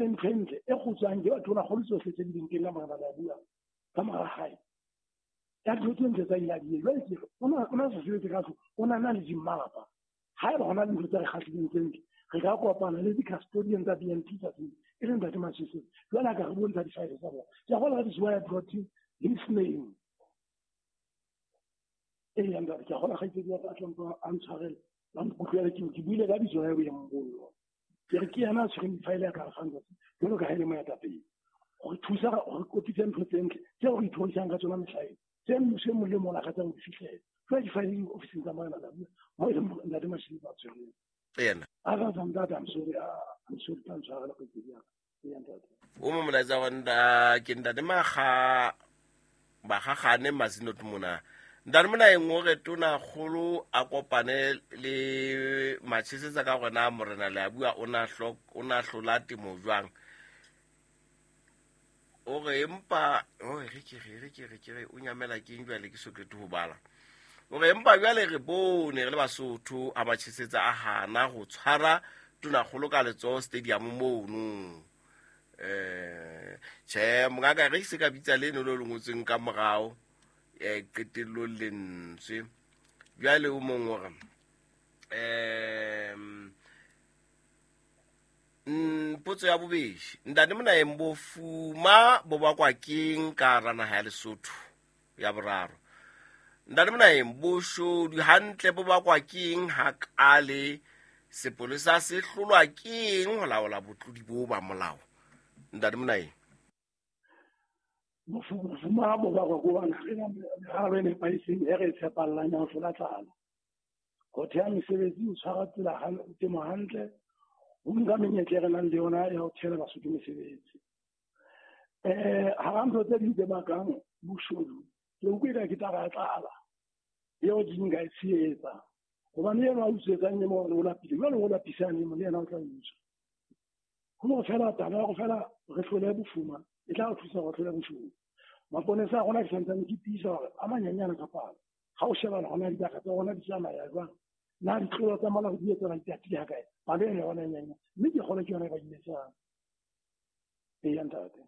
Ntho e ntle e kgutswang ke tonakgolo tsohle tse di leng teng ka mora ba bua ka mora hae. Ya dintho tse ntle tsa ile a di jwale ke o na sa sebetse ka tlung, o na na le dimmapa. Haeba hona le ntho tse re kgahlileng tse ntle, re ka kopana le di-custodian tsa BNT tsatsing e leng Ntate Masisi. Jwale a ka re bontsha di-file tsa bona. Ke a kgolwa that is why I brought his name. Ee, ntate, ke a kgolwa kgaitsedi ya ka a tla a ntshwarele, ba nkutlwele ke buile ka bitso la boemong bollo. Ke re ke yena a tshwereng di-file ya ka re fang tsatsi jwalo ka ha e le moetapele. Go re thusa gore kopitse ntho tse ntle tseo re ithorisang ka tsona mehlaeng, tse mmuso e mong le mong o lakatsang ho di fihlela. Jwale di-file di ofising tsa morena Dabua, mo e leng Ntate Mashilo ba tshwereng. Yena. Other than that, I'm sorry, I'm sorry, tla ntshwarela kgaitsedi ya ka. Ee, ntate. O mo molaetsa wa nda ke ntate maga bagagane mazinot mona ntate mona e nngwe re tona kgolo a kopane le matshesetsa ka gore na morena le a bua o na hlola temo jwang. O re empa o re ke re re ke re ke re o nyamela keng jwale ke so qete ho bala. O re empa jwale re bone re le Basotho a Machesetsa a hana ho tshwara tonakgolo ka letsoho stadium mono. Tjhe mongaka re se ka bitsa leno le le ngotsweng ka morao qetellong lentswe. Jwale o mong o re potso ya bobedi ntate Monaeng bofuma bo bakwa keng ka hara naha ya Lesotho? Ya boraro ntate Monaeng boshodu hantle bo bakwa keng hakale? Sepolesa se hlolwa keng ho laola botlodi bo ba molao? Ntate Monaeng. Bofuma bo bakwa ke hobane ha re na meralo e nepahetseng e re e tshepallang ya ho hlola tlala. Ho theha mesebetsi, ho tshwara tsela temo hantle, ho nka menyetla e re nang le yona ya ho thehela Basotho mesebetsi. Hara ntho tse ding tse bakang boshodu, ke utlwe ka ke taba ya tlala eo di nka e tshehetsa. Hobane eno a utswetsang e mong o lapile, jwale o lapisang e mong le yena o tla utswa. Ho no fela taba ya go fela re hlole bofuma, e tla re thusa go hlole boshodu. Maponesa a rona ke santsane ke tiisa hore a manyenyane ka palo. Ha o shebana hona dibaka tsa rona di tsamaya jwang, na ditlolo tsa molao di etsa di atile ha kae, palo ena yona e nyenyane, mme ke kgolwa ke yona e ba imetsang. Ee, ntate.